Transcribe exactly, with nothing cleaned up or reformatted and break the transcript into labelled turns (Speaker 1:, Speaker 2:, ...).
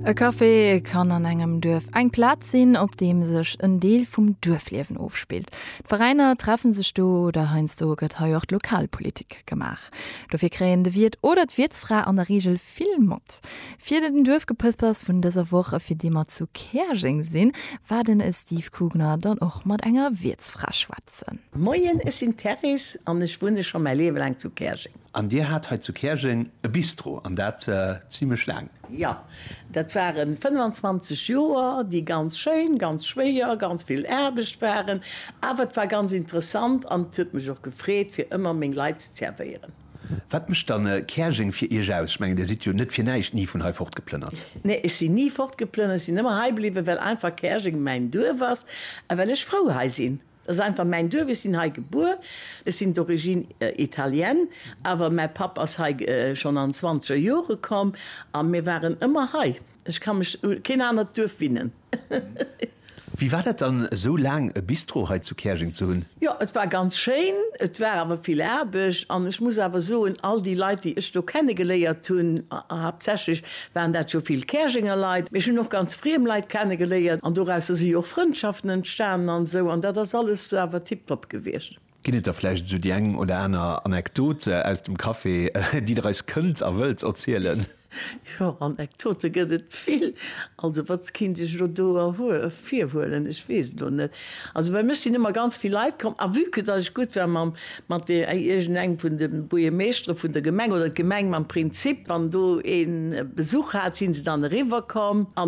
Speaker 1: E Café kann an engem Duerf eng Plaz sinn, op deem sech en Deel vum Duerfliewen ofspillt. D'Veräiner treffen sech do oder heiansdo gëtt hei och Lokalpolitik gemaach. Dofir kréien de Wiert oder d'Wiertsfra an der Reegel vill mat. Fir den Duerfgepëspers vun dëser Woch, fir déi mer zu Käerjeng sinn, war den Steve Kugner dann och mat enger Wiertsfra schwätzen.
Speaker 2: Moien, ech sinn d'Therese an ech wunne scho mäi Liewe laang zu Käerjeng.
Speaker 3: An Dir hat hei zu Käerjeng e Bistro, an dat zimlech laang.
Speaker 2: Jo, dat waren fënnwanzwanzeg Joer, déi ganz schéin, ganz schwéier, ganz vill Aarbecht waren, awer et war ganz interessant an et huet mech och gefreet, fir ëmmer meng Leit ze zerwéieren.
Speaker 3: Wat mécht dann Käerjeng fir Iech aus? Ech mengen, Dir sidd jo net fir näischt ni vun hei fortgeplënnert.
Speaker 2: Nee, ech sinn ni fortgeplënnert, ech sinn ëmmer hei bliwwen, well einfach Käerjeng mäin Duerf ass a well ech frou hei sinn. Dat ass einfach mäin Duerf, ech sinn hei gebuer, ech sinn d'origine italienne, awer mäi Papp ass hei schonn an zwanzeger Jore komm a mir waren ëmmer hei. Ech ka mech u keen anert Duerf winnen.
Speaker 3: Wéi war dat dann esou laang e Bistro hei zu Käerjeng ze hunn?
Speaker 2: Jo, et war ganz schéin, et war awer vill Aarbecht an ech muss awer soen, all déi Leit, déi ech do kennegeléiert hunn, haaptsächlech waren dat jo vill Käerjenger Leit, mee ech hunn och ganz friem Leit kennegeléiert an dorausser si jo och Frëndschaften entstanen an esou an dat ass alles awer tiptop gewiescht.
Speaker 3: Ginn et da vläicht esou déi eng oder aner Anekdot aus dem Café, déi Der eis kënnt a wëllt erzielen?
Speaker 2: Jo, Anekdote gëtt et vill. Also wat kinnt ech elo do ervirhuelen? Ech weess et elo net. Also bei mech sinn ëmmer ganz vill Leit komm a vue que datt ech gutt war mam, mat de, iergendengem vun de Buergermeeschtere vun der Gemeng oder d'Gemeng mam Prinzip, wann do ee Besuch hat, si se dann eriwwer komm an